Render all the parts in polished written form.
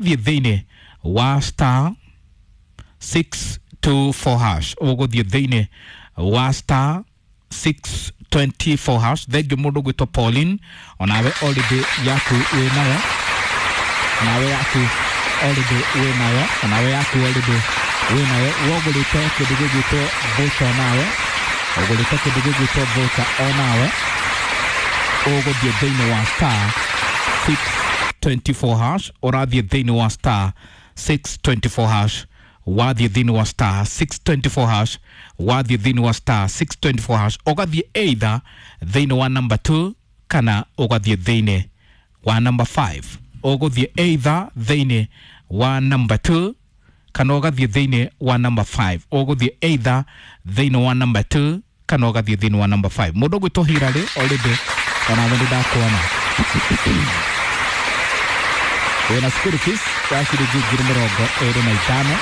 Thiĩ thĩinĩ wa star 624 hash, ũgũthiĩ thĩinĩ wa star 624 hash. Thengiũ mũndũ gwĩtwo Pauline, onawe already yaku wĩ nayo, nawe yaku already wĩ nayo, onawe yaku already wĩ nayo. Wogũrĩte kĩndũ gĩgwĩtwo voucher, nawe ũgũrĩte kĩndũ gĩgwĩtwo voucher, onawe ũgũthiĩ thĩinĩ wa star 624 hash. Ũrathiĩ thĩinĩ wa star 624 hash, wathiĩ thĩinĩ wa star 624 hash, wathiĩ thĩinĩ wa star 624 hash, ũgathiĩ either thĩinĩ wa number 2 kana ũgathiĩ thĩinĩ wa number 5. Ũgũthiĩ either thĩinĩ wa number 2 kana ũgathiĩ thĩinĩ wa number 5. Ũgũthiĩ either thĩinĩ wa number 2 kana ũgathiĩ thĩinĩ wa number 5. Mũndũ ũgwĩtwo Hilary, already onawe nĩ ndakuona wĩna school fees ya ciringi 25,000,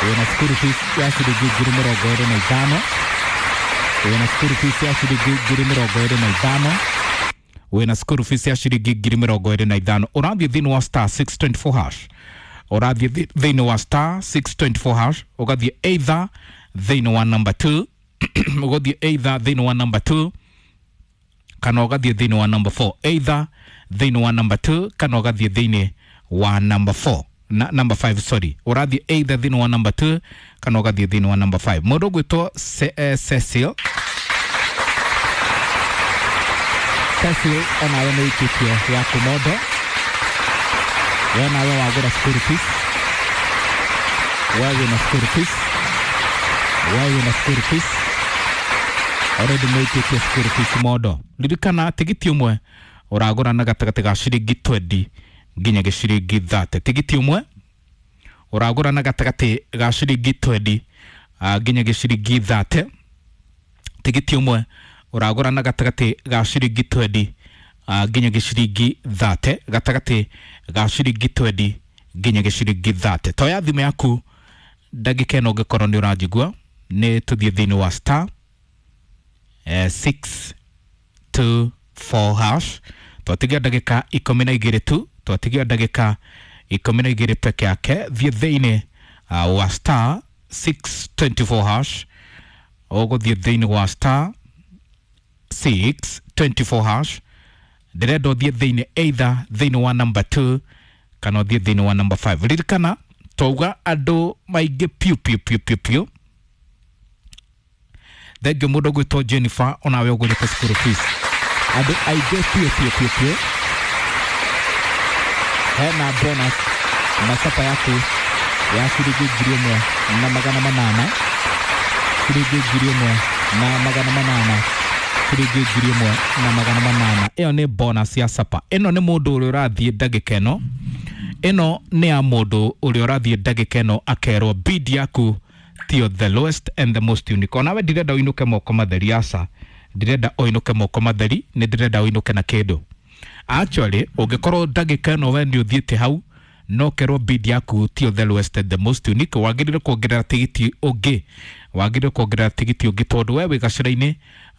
wĩna school fees ya ciringi 25,000, wĩna school fees ya ciringi 25,000, wĩna school fees ya ciringi 25,000. Ũrathiĩ thĩinĩ wa star 624 hash, ũrathiĩ thĩinĩ wa star 624 hash, ũgathiĩ either thĩinĩ wa number 2, ũgathiĩ either thĩinĩ wa number 2 kana ũgathiĩ thĩinĩ wa number 4. Either thĩinĩ wa number 2 kana ũgathiĩ thĩinĩ wa number 4 na number 5, sorry. Ũrathiĩ either thĩinĩ wa number 2 kana ũgathiĩ thĩinĩ wa number 5. Mũndũ ũgwĩtwo Cecil, Cecil, onawe nĩ ũikĩtie yaku mondo. We nawe wagũra school fees, we wĩna school fees, we wĩna school fees already, nĩ ũikĩtie school fees mondo. Ririkana tigiti ũmwe ũragũra na gatagatĩ ga ciringi 20 nginya gĩciringi 30. Tigiti ũmwe ũragũra na gatagatĩ ga ciringi 20 nginya gĩciringi 30. Tigiti ũmwe ũragũra na gatagatĩ ga ciringi 20 nginya gĩciringi 30, gatagatĩ ga ciringi 20 nginya gĩciringi 30. Toya thimũ yaku ndagĩka ĩno ũngĩkorwo nĩ ũranjigua, nĩ tũthiĩ thĩinĩ wa star 624 hash. Twatigia ndagĩka 12 tu, twatigia ndagĩka 12 peke yake. Thiĩ thĩinĩ wa star 624 hash, ũgũthiĩ thĩinĩ wa star 624 hash. Ndĩrenda ũthiĩ thĩinĩ either thĩinĩ wa number 2 kana ũthiĩ thĩinĩ wa number 5. Ririkana twauga andũ maingĩ piũ piũ piũ piũ piũ. Thengio mũndũ ũgwĩtwo Jennifer, onawe ũgũrĩte school fees. Andũ aingĩ piũ piũ piũ piũ, hena bonus na capa yaku ya ciringi 1,800, ciringi 1,800, ciringi 1,800. Ĩyo nĩ bonus ya sapa. Ĩno nĩ mũndũ ũrĩa ũrathiĩ ndagĩka ĩno, ĩno nĩ ya mũndũ ũrĩa ũrathiĩ ndagĩka ĩno akerwo bid yaku tiyo the lowest and the most unique. Onawe ndirenda ũinũke moko matheri, aca, ndirenda ũinũke moko matheri, nĩ ndĩrenda ũinũke na kĩndũ. Actually, ũngĩkorwo ndagĩka ĩno we nĩ ũthiĩte hau no kerwo bid yaku tiyo the lowest and the most unique, wagĩrĩire kuongerera tigiti ũngĩ, wagĩrĩire kuongerera tigiti ũngĩ, tondũ we wĩ gacĩra-inĩ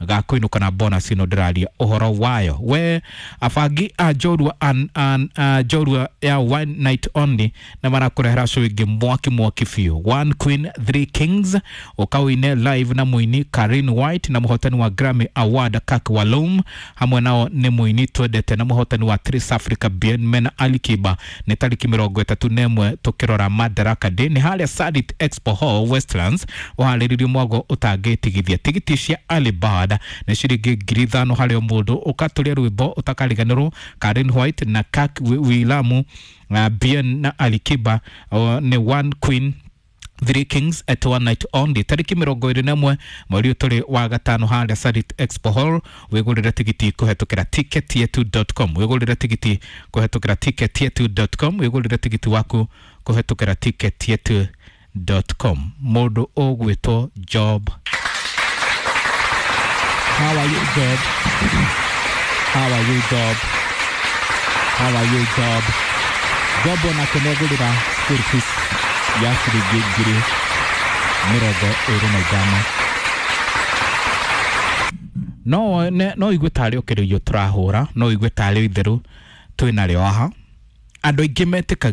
ga kũinũka na bonus ĩno ndĩraria ũhoro wayo. We abangi a njorua a njorua ya one night only na marakũrehera show ĩngĩ mwaki mwaki biũ, One Queen Three Kings, ũkaũine live na mũini Karin White na mũhotani wa Grammy Award Kak Walum. Hamwe nao nĩ mũini twendete na mũhotani wa Trace Africa Bien mena Ali Kiba. Nĩ tarĩki 31 tũkĩrora Madaraka Day, nĩ harĩa Sarit Expo Hall, Westlands. Ũharĩrĩrio mwago ũtangĩtigithia. Tigiti cia early bird nĩ ciringi 5,000 harĩ o mũndũ. Ũkatũria rwĩmbo ũtakariganĩrwo, Karin White na Kak Wilamu, Bien na Ali Kiba, nĩ One Queen Three Kings at one night only, tarĩki 21 mweri ũyũ tũrĩ wa gatano, harĩa Sarit Expo Hall. Wĩgũrĩre tigiti kũhetũkĩra ticketyetu.com, wĩgũrĩre tigiti kũhetũkĩra ticketyetu.com, wĩgũrĩre tigiti waku kũhetũkĩra ticketyetu.com. Mũndũ ũgwĩtwo Job, how are you, Job? How are you, Job? How are you, Job? Job onake nĩagũrĩra school fees ya ciringi 25,000. No igue tarĩ o kĩrĩio tũrahũra, no igue tarĩ o itherũ twĩ narĩo haha. Andũ aingĩ metĩkagia.